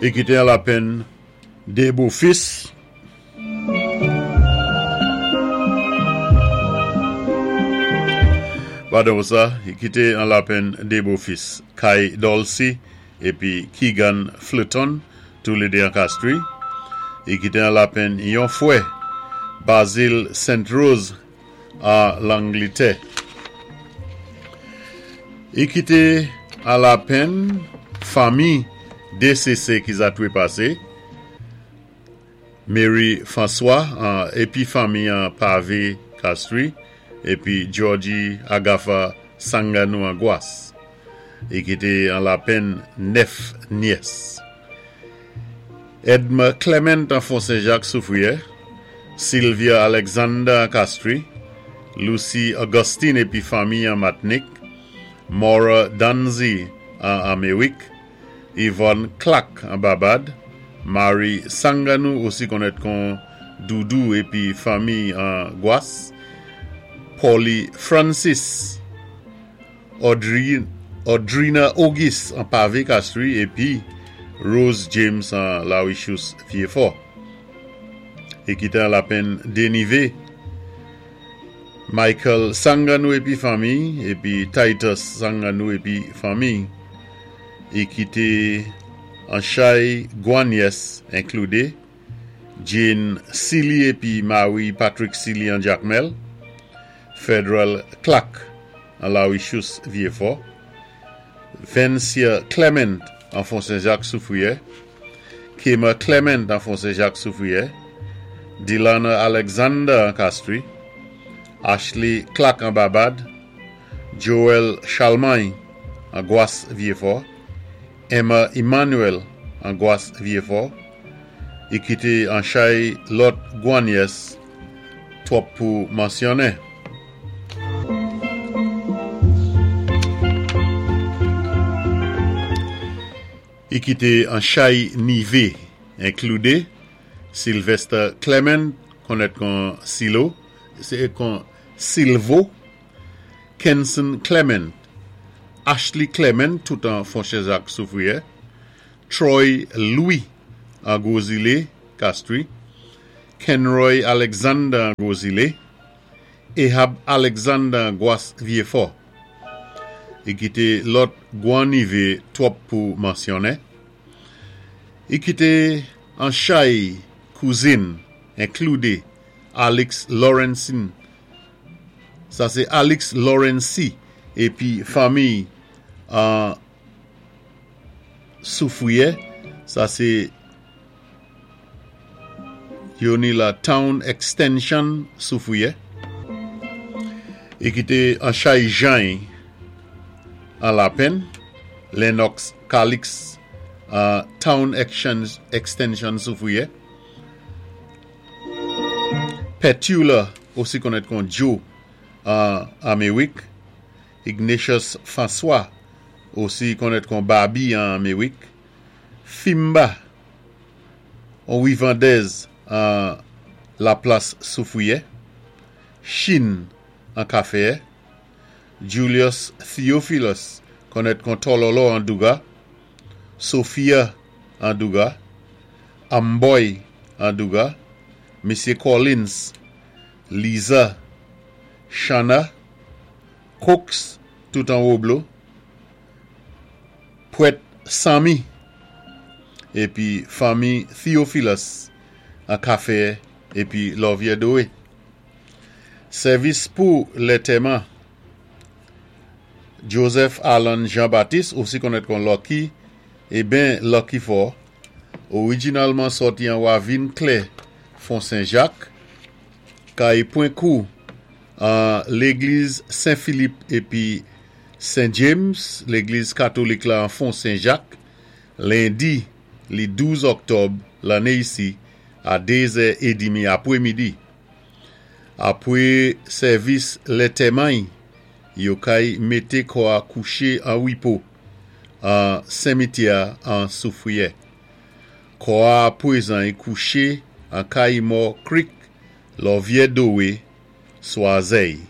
I kité an lapenn dé bofis. Padon pou sa, i kité an lapenn dé bofis, Kai Dolcy épi Keegan Fleuton, toulédé an Castries. I kité an lapenn yon fwè, Basil Saint Rose an Langlitè. I kité an lapenn fanmi DCC ki za twépasé, Mary François an épi fanmi an Pave Castries épi Georgie Agatha Sanganou an Gwas. I kité an lapenn 9 nyès. Edme Clement an Fon Sen Jak Soufriyè, Sylvia Alexander an Castries, Lucy Augustine épi fanmi an Matnik, Maura Danzy an Amerik, Yvonne Clack an Babad, Marie Sanganou osi konnèt kon Doudou épi fanmi an Gwas, Paulie Francis, Audrina Auguiste an Pave Castries épi Rose James an Larichous Vyéfò. E kité an lapenn Denivé, Michael Sanganou épi fanmi, épi Titus Sanganou épi fanmi. E kité an chay gwan nyès enkloudé Jane Sealy épi mari Patrick Sealy an Jakmèl, Federal Clack an Larichous Vyéfò, Vencia Clement an Fon Sen Jak Soufriyè, Kema Clement an Fon Sen Jak Soufriyè, Delana Alexander an Castries, Ashley Clack an Babad, Joel Charlemagne an Gwas Vyéfò, Emma Emmanuel an Gwas Vyéfò, i kité an chay lòt gwan nyès twòp pou mansyonnen. I kité an chay nivé enkloudé Sylvester Clement konnèt kon Silo, kon Silvo, Kenson Clement, Ashley Clement tout an Fonchèzak Soufriyè, Troy Louis an Gwo Zile, Castries, Kenroy Alexander an Gwo Zile, Ehab Alexander an Gwas Vyefò. I kité lòt gwan nivé twòp pou mansyonnen. I kité an chay kouzin enkloudé Alix Laurencin, sa sé Alix Laurency épi fanmiy an Soufriyè, sa sé yo ni la Town Extension Soufriyè, e ki té an chay jany an Lapenn, Lennox Calix an Town Extension Soufriyè, Petula osi konnèt kon Joe an Amerik, Ignatius François, osi konnèt kon Babi an Amerik, Fimba, on rivandèz an Laplas Soufriyè, Chin an Kafeyè, Julius Theophilus, konnèt kon Tòlòlò an Douga, Sophia an Douga, Amboy an Douga, Mesye Collins, Liza, Shana, Cox tout an Woblo, Prèt Sammy épi fanmi Theophilus an Kafeyè épi Lòvyè Dowe. Sèvis pou lètèman Joseph Allen Jean Baptiste osi konnèt kon Lucky e ben Lucky Fò, orijinalman sòti an Ravin Klè, Fon Sen Jak, kay Pwen Kou an Legliz Sen Filip épi Sen James, legliz katolik la an Fon Sen Jak, lendi li 12 òktòb lanné isi a 2 zè edimi apwé midi. Apwé sèvis lètèmany, yo kay mété kò a kouché an wipo an senmityè an Soufriyè. Kò a apwézany kouché an Kayimò Creek, Lòvyè Dowe, Swazèy.